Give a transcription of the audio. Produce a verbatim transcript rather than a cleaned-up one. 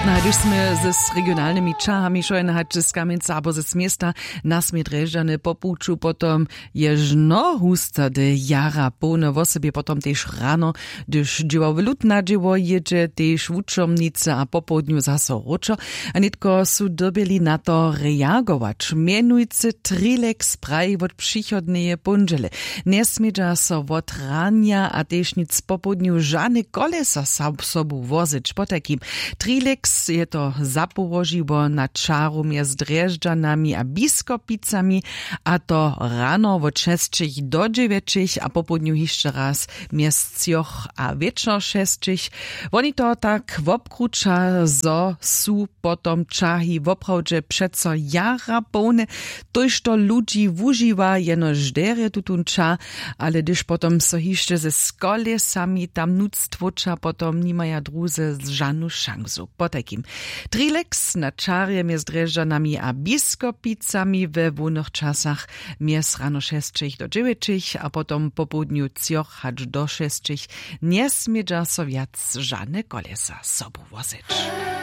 A hdyž smy z regionalnymi čahami šojn hač z kamjenca abo z města, nasmě drježdźane po puću potom ježno hustady jara połne wosebje potom tež rano, hdyž dźěło w lutna dźěło jědźe tež wučomnice a popołdnju zaso wróćo. A nětko su dyrbjeli na to reagować mjenujcy trilex praji wot přichodneje póndźele, njesmědźa so wot ranja a tež nic popołdnju žane kolesa sobu wozeć potajkim. Trilex je to zapołožiło na čaru mjez drježdźanami a biskopicami, a to rano wot šesćich do dźewjećich a popołdnju hišće raz mjez třoch a wječor šesćich. Woni to tak wobkruća zo su potom čahi woprawdźe přeco jara połne. Tójšto ludźi wužiwa jenož derje tutón ča, ale hdyž potom so hišće ze skolesami tam nuc tłóča potom nimaja druze žanu šansu potajkim. Trilex na čarje mjez drježdźanami a biskopicami we hłownych časach mjez rano šesćich do dźewjećich a potom popołdnju třoch hač do šesćich njesmědźa so wjac žane kolesa sobu wozeć.